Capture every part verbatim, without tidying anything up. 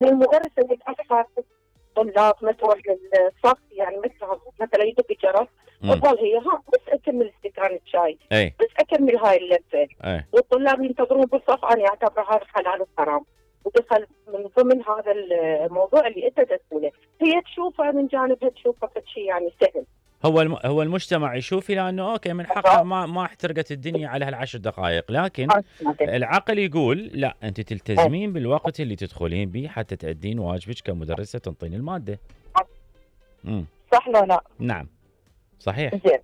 المدرس اللي تاخر طلاب ما تروح للصف، يعني مثلا مثلا يدق الجرس وتظل هي ها بس اكمل استكان الشاي، اي بس اكمل هاي اللذه، اي والطلاب ينتظرون بالصف. انا اعتبر هذا حلال وحرام، ودخل من ضمن هذا الموضوع اللي انت تقوله. هي تشوفه من جانبها، تشوفه شيء يعني سهل. هو الم... هو المجتمع يشوف الى انه اوكي من حقه ما ما احترقت الدنيا على هالعشر دقائق، لكن العقل يقول لا، انت تلتزمين بالوقت اللي تدخلين به حتى تأدين واجبك كمدرسه تنطين الماده. امم صح لو لا؟ نعم صحيح. زين،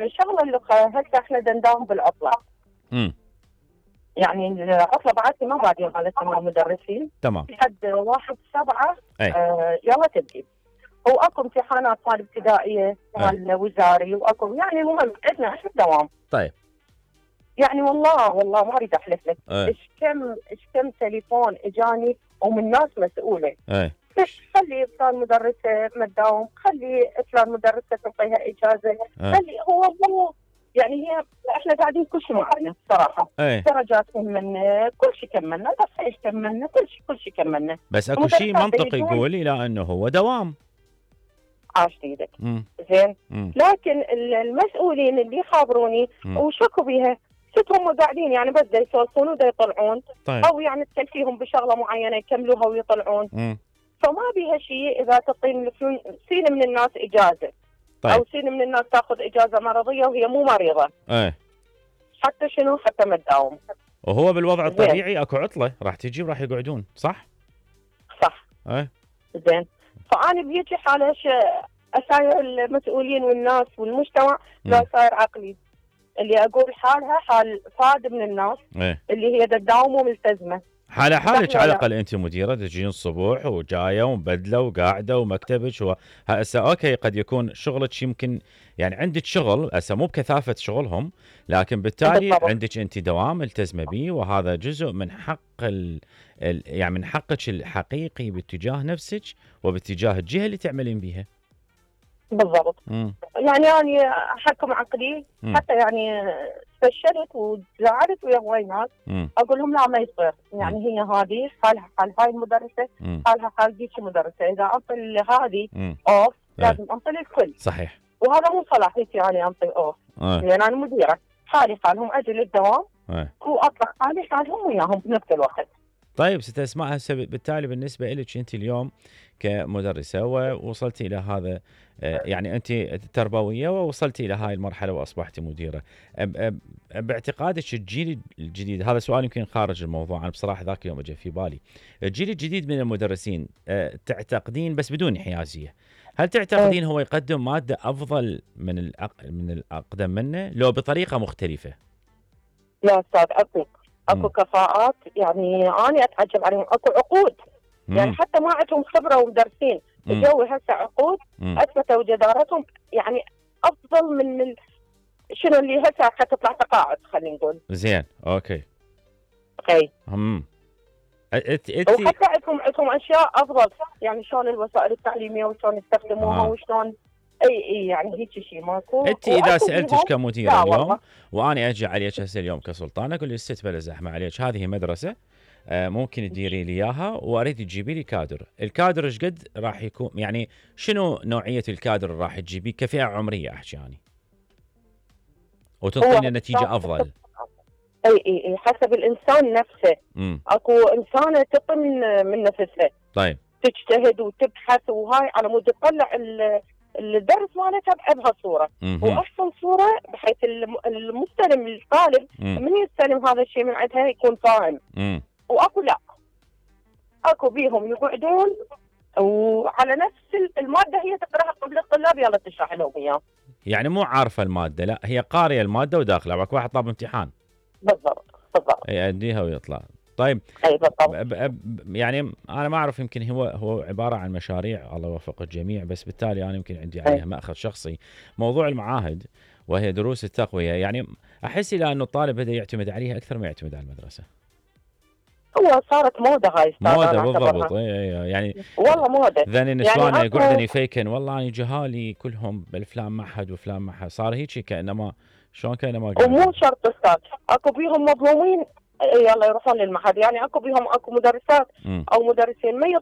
شغله اللغه هسه احنا نداوم بالعطله. امم يعني العطله بعد ما بعدين مالتنا مع المدرسين تمام لحد واحد سبعة. آه يلا تبدي، واكو امتحانات مال ابتدائيه مال وزاري، واكو يعني المهم عندنا احنا دوام. طيب يعني والله والله ما اريد احلف لك ايش كم ايش كم تليفون اجاني ومن ناس مسؤوله. اي خلي فلان مدرسه ما تداوم، خلي فلان مدرسه تعطيها اجازه، خلي هو مو يعني هي احنا قاعدين كل شيء معنا صراحه. أي. درجات كملنا، كل شيء كملنا، بس ايش كملنا كل شيء كل شيء كملنا. بس اكو شيء منطقي يقول الى انه هو دوام. عاش ايدك. زين، لكن المسؤولين اللي يخابروني وشكوا بيها ست هم قاعدين يعني بس دا يسولفون ودا يطلعون. طيب. او يعني تكلفيهم بشغله معينه يكملوها ويطلعون. مم. فما بيها شيء اذا تعطين سين من الناس اجازه. طيب. او سين من الناس تاخذ اجازه مرضيه وهي مو مريضه. ايه حتى شنو حتى ما تداوم. وهو بالوضع الطبيعي اكو عطله راح تجي وراح يقعدون، صح؟ صح. ايه زين، فانا بيجي حاله اساير المسؤولين والناس والمجتمع لا صاير عقلي اللي اقول حالها حال فاد من الناس. ايه اللي هي تداوم وملتزمه. حالة حالك على الاقل انت مديره تجين الصبح وجايه ومبدله وقاعده ومكتبك و... هسه اوكي قد يكون شغلك يمكن يعني عندك شغل هسه مو بكثافه شغلهم، لكن بالتالي بالضبط. عندك انت دوام ملتزمه به، وهذا جزء من حق ال... ال... يعني من حقك الحقيقي باتجاه نفسك وباتجاه الجهه اللي تعملين بيها. بالضبط. مم. يعني انا احكم عقلي. مم. حتى يعني فشلت وزعلت ويا هواي ناس اقول لهم لا ما يصير. يعني مم. هي هذه حالها حال هاي المدرسه، مم. حالها حال ديك المدرسه، اذا انطي هذه اوف لازم انطي الكل. صحيح. وهذا مو صلاحيتي يعني انطي اوف. أه. لان انا مديره، حالي حالهم اجي للدوام أه. واطلق حالي حالهم وياهم بنفس الوقت. طيب ست اسماء، هسه بالتالي بالنسبه لك انت اليوم كمدرسه ووصلتي الى هذا يعني انت تربويه ووصلتي الى هاي المرحله واصبحتي مديره، باعتقادك الجيل الجديد، هذا سؤال يمكن خارج الموضوع، انا بصراحه ذاك اليوم اجى في بالي، الجيل الجديد من المدرسين تعتقدين بس بدون حيازيه، هل تعتقدين هو يقدم ماده افضل من من الاقدم منه لو بطريقه مختلفه؟ لا استاذ اكو اكو كفاءات، يعني انا اتعجب عليهم، اكو عقود. مم. يعني حتى ما عندهم خبره ومدرسين الجو هسه عقود اثبتوا جدارتهم، يعني افضل من ال... شنو اللي هسه حتطلع تقاعد خلينا نقول. زين اوكي. اوكي. امم ات ات وحتى عندهم عندهم اشياء افضل، يعني شلون الوسائل التعليميه وشلون يستخدموها. آه. وشلون اي اي يعني هيك شيء ماكو. انت اذا سالتك كمديره اليوم وانا اجي عليك هسه اليوم كسلطان اقول لك ست بلا زحمه عليك، هذه مدرسه آه ممكن تديري لي اياها واريد تجيبي لي كادر، الكادر ايش قد راح يكون، يعني شنو نوعيه الكادر اللي راح تجيبيه كفئه عمريه احكي يعني وتعطينا نتيجه افضل؟ اي اي اي حسب الانسان نفسه. مم. اكو انسانه تعطي من من نفسها. طيب. تجتهد وتبحث وهاي على مود تطلع الدرس مالتها بهالصوره، واحسن صوره بحيث المستلم الطالب من يستلم هذا الشيء من عندها يكون فاهم. مم. واكو لا اكو بيهم يقعدون وعلى نفس الماده هي تقراها قبل الطلاب يلا تشرح لهم اياه. يعني مو عارفه الماده، لا هي قاريه الماده وداخله، باك واحد طاب امتحان. بالضبط بالضبط. يأديها ويطلع. طيب. اي بالضبط. ب ب يعني انا ما اعرف، يمكن هو هو عباره عن مشاريع الله يوفق الجميع، بس بالتالي انا يمكن عندي عليها مأخذ شخصي، موضوع المعاهد وهي دروس التقويه، يعني احس الى انه الطالب بدا يعتمد عليها اكثر ما يعتمد على المدرسه. هو صارت موضه هاي موضه بالضبط. اي يعني والله موضه. ذن النسوان يعني يقعدن يفيكن والله انا جهالي كلهم بالفلان معهد وفلان معهد، صار هيك كانما شلون كانما ومو شرط استاذ، اكو بيهم مظلومين يلا يروحون للمعهد. يعني اكو بيهم اكو مدرسات مم. او مدرسين ما